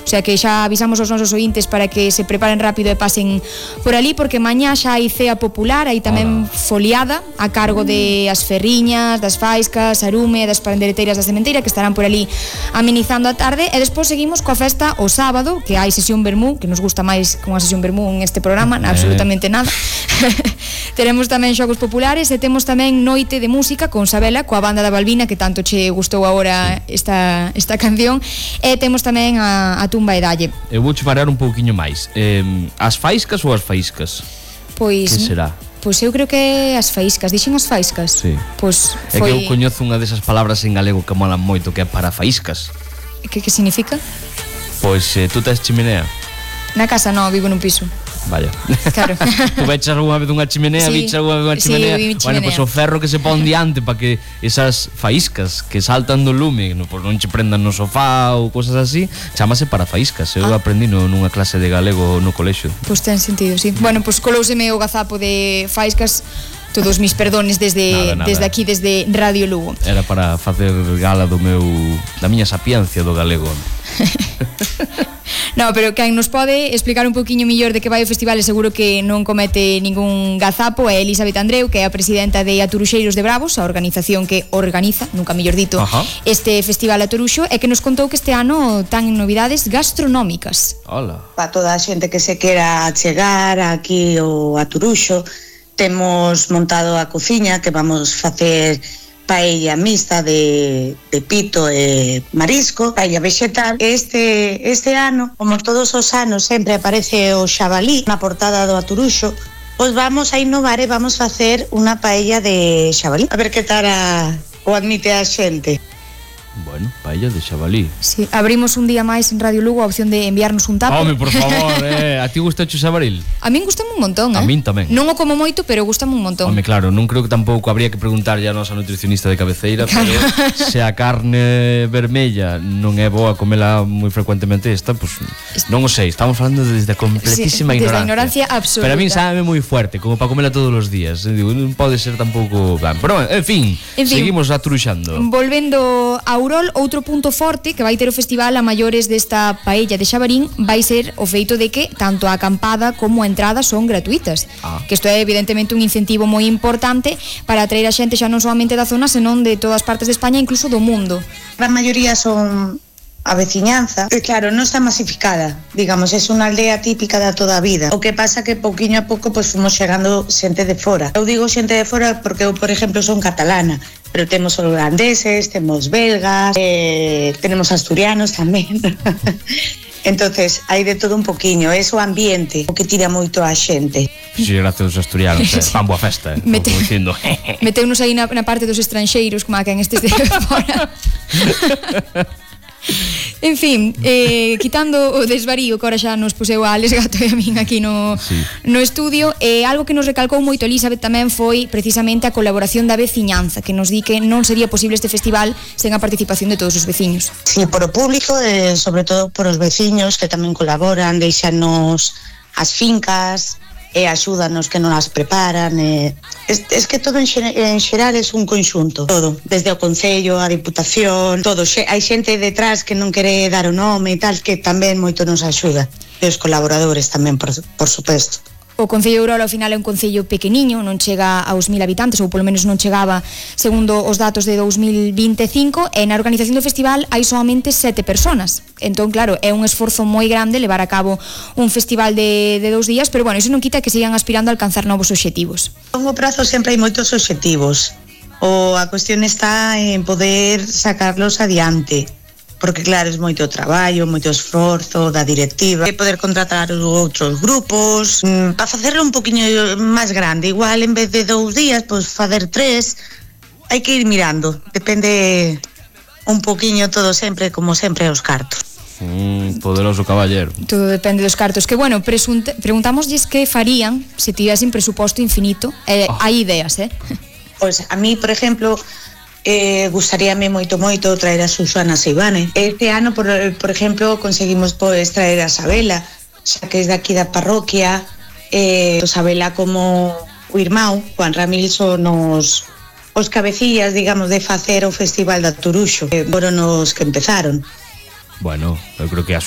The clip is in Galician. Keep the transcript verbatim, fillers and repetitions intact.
O sea que xa avisamos aos nosos ointes para que se preparen rápido e pasen por ali, porque mañá xa hai cea popular, hai tamén Hola. foliada a cargo de as ferriñas, das faiscas, arume, das pandereteiras da sementeira, que estarán por ali amenizando a tarde, e despois seguimos coa festa o sábado, que hai sesión vermú, que nos gusta máis que unha sesión vermú en este programa, eh. absolutamente nada. Teremos tamén xogos populares e temos tamén noite de música con Sabela, coa banda da Balbina, que tanto che gustou agora sí. esta, esta canción, e temos tamén a, a tumba e dalle. Eu vou che parar un pouquiño máis. Eh, as faiscas ou as faiscas? Pois... Que será? Pois eu creo que as faíscas, dixen as faíscas. Sí. Pois foi... É que eu foi... coñezo unha desas palabras en galego que molan moito, que é para faíscas. Que que significa? Pois eh, tú tes chimenea? Na casa non, vivo nun piso. Vaya. Claro. Tú veches algunha vez unha chimenea, sí, viches algunha vez unha chimenea. Sí, bueno, pois pues, o ferro que se pon diante para que esas faíscas que saltan do lume, no, pues, non che prendan no sofá ou cosas así, chamase para faíscas. Eu ah. aprendí no, nunha clase de galego no colexio. Pois pues ten sentido, sí. Bueno, pois pues, colouseme o gazapo de faíscas. Todos mis perdones desde nada, nada. desde aquí, desde Radio Lugo. Era para facer gala do meu da miña sapiencia do galego. No, pero quen nos pode explicar un poquinho mellor de que vai o festival, e seguro que non comete ningún gazapo, é Elizabeth Andreu, que é a presidenta de Aturuxeiros de Bravos, a organización que organiza, nunca mellor dito, Ajá. este festival Atoruxo, e que nos contou que este ano tan novidades gastronómicas. Hola. Para toda a xente que se quera chegar aquí ao Atoruxo, temos montado a cociña, que vamos facer paella mixta de, de pito e marisco, paella vegetal. Este, este ano, como todos os anos, sempre aparece o xabalí na portada do Atoruxo, pois vamos a innovar e vamos facer unha paella de xabalí. A ver que tal a, o admite a xente. Bueno, paella de xabalí. Sí, abrimos un día máis en Radio Lugo a opción de enviarnos un tapo. Home, por favor, eh, a ti gusta o xabaril? A min gustame un montón, eh? A min tamén. Non o como moito, pero gustame un montón. Home, claro, non creo que tampouco habría que preguntarlle a nosa nutricionista de cabeceira, claro. Pero se a carne vermella non é boa comela moi frecuentemente esta, pois pues, non o sei, estamos falando desde a completísima sí, ignorancia. Desde a ignorancia absoluta. Pero a min sabe moi fuerte, como para comela todos os días. Digo, non pode ser tampouco... Pero, en fin, en fin seguimos aturuxando. Volvendo a Urol, outro punto forte que vai ter o festival a maiores desta paella de xabarín vai ser o feito de que tanto a acampada como a entrada son gratuitas, ah. que isto é evidentemente un incentivo moi importante para atraer a xente xa non solamente da zona, senón de todas partes de España, incluso do mundo. A maioría son a veciñanza, e claro, non está masificada, digamos, é unha aldea típica da toda a vida. O que pasa que pouquiño a pouco pois fomos chegando xente de fora. Eu digo xente de fora porque eu, por exemplo, son catalana, pero temos holandeses, temos belgas, eh, tenemos asturianos tamén. Entonces, hai de todo un poquiño, é o ambiente o que tira moito a xente. Si, sí, gracias aos asturianos, eh, fan boa festa, eh, Mete, como dicindo. Meteunos aí na, na parte dos estranxeiros, como a quen estes de fora. En fin, eh, quitando o desvarío que ahora xa nos puseu a Alex Gato e a min aquí no, sí. no estudio, eh, algo que nos recalcou moito Elizabeth tamén foi precisamente a colaboración da veciñanza, que nos di que non sería posible este festival sen a participación de todos os veciños. Sí, por o público, eh, sobre todo por os veciños que tamén colaboran, deixanos as fincas e axúdanos que non as preparan, e es, es que todo en, xer, en xeral é un conxunto, todo, desde o Concello, a Diputación, todo, xe, hai xente detrás que non quere dar o nome e tal, que tamén moito nos axuda, e os colaboradores tamén, por, por suposto. O Concello de Urol ao final é un concello pequeniño, non chega aos mil habitantes, ou polo menos non chegaba segundo os datos de dos mil vinte e cinco, e na organización do festival hai solamente sete personas. Entón, claro, é un esforzo moi grande levar a cabo un festival de, de dous días, pero bueno, iso non quita que sigan aspirando a alcanzar novos obxectivos. A longo prazo sempre hai moitos obxectivos, o a cuestión está en poder sacarlos adiante, porque claro, é moito traballo, moito esforzo da directiva, e poder contratar os outros grupos, mmm, para facerlo un poquinho máis grande, igual en vez de dous días, pois facer tres, hai que ir mirando, depende un poquinho todo sempre, como sempre, os cartos. Mm, poderoso caballero. Todo depende dos cartos, que bueno, presunte, preguntámoslles que farían se tivesen presuposto infinito, eh, oh. hai ideas, eh? Pois a mí, por exemplo, Eh, gustaríame moito moito traer a Susana Seivane. Este ano, por, por exemplo, conseguimos pois traer a Sabela, xa que é daqui da parroquia, eh, Sabela como o irmão, Juan Ramírez, son os, os cabecillas, digamos, de facer o Festival de Atoruxo, que foron os que empezaron. Bueno, eu creo que a